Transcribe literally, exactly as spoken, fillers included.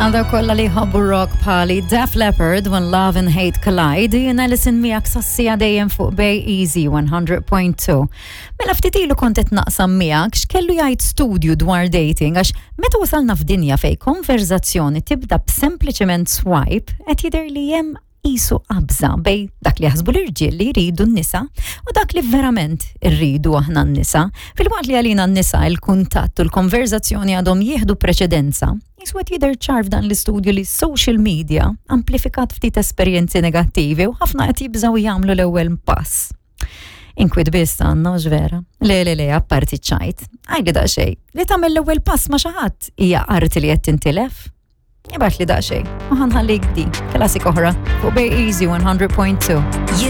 Għal dawk kollha li jħobbu rock bħali Def Leppard, When Love and Hate Collide, jiena Alison miegħek sas-siegħa dejjem fuq Bay Easy one hundred point two. Mela ftit ilu kont qed naqsam miegħek x'kellu jgħid studju dwar dating, għax meta wasalna f'dinja fej konverzazzjoni tibda b'sempliċement swipe, qed jidher li hemm qisu qabża bejn dak li jaħsbu l-irġiel li jridu n-nisa u dak li verament irridu aħna n-nisa. Filwaqt li għalina n-nisa il-kuntatt u l-konverzazzjoni għadhom jieħdu preċedenza, qisu qed jidher ċar f'dan l-istudju li social media amplifikat ftit esperjenzi negattivi u ħafna qed jibżaw jagħmlu l-ewwel pass. Inkwiet biss għandna, vera. Le, le, le, apparti ċajt. Għidli daqsxejn, li tagħmel l-ewwel pass ma' xi ħadd hija arti li qed tintilef? Ibgħatli daqsxejn, u ħa nħallik din, klassik oħra, fuq Bay Easy one hundred point two. You